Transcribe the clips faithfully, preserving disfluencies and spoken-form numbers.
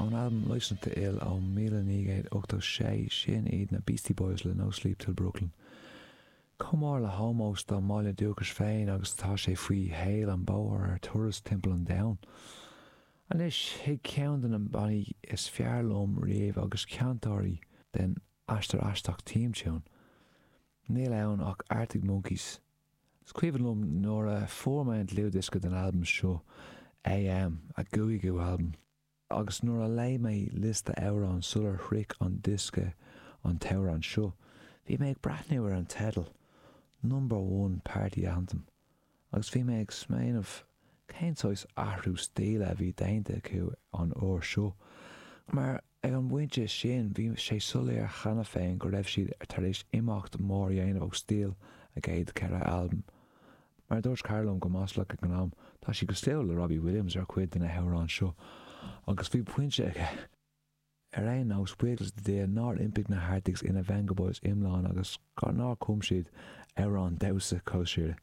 Ón albam Licence to Ill ó míle naoi gcéad ochtó sé sin iad na Beastie Boys le No Sleep Till Brooklyn. Chomh mór le hómós dá mbaile dúchais féin agus atá sé faoi shaol an bóthar ar turas timpeall an domhain. Anois chuig ceann de na bannaí is fearr liom riamh agus ceantóirí den aistear aisteach theme tune. Níl ann ach Arctic Monkeys. Is cuimhin liom nuair a fuair mé an dlúthdhiosca den albam seo AM a gcúigiú albam. Agus nuair a léigh mé liosta amhrán sular shroich an diosca an t-amhrán seo, bhí mé ag breathnú ar an teideal, Number One Party Anthem, agus bhí mé ag smaoineamh cén saghas athrú stíle a bhí déanta acu an uair seo. Mar ag an bpointe sin bhí sé soiléir cheana féin go raibh siad tar éis imeacht mór a dhéanamh ó stíl a gcéad ceithre albam. Mar dúirt cara liom go maslach ag an am, tá sé cosúil le Robbie Williams ar chuid de na hamhráin seo, agus bhí pointe aige. Ar aon nós buíochas le Dia nár iompaigh na hArctics ina Vengaboys iomlán agus nár chum siad amhrán damhsa cóisire.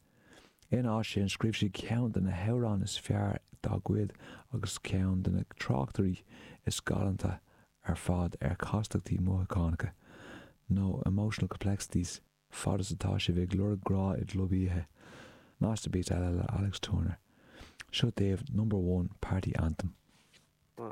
Ina áit sin scríobh siad ceann de na hamhráin is fearr dá gcuid agus ceann de na tráchtairí is galánta ar fad ar chastachtaí mothúchánacha, nó emotional complexities, fad is atá sibh ag lorg grá i gclub oíche. Masterpiece eile le Alex Turner. Seo daoibh number one party anthem. One,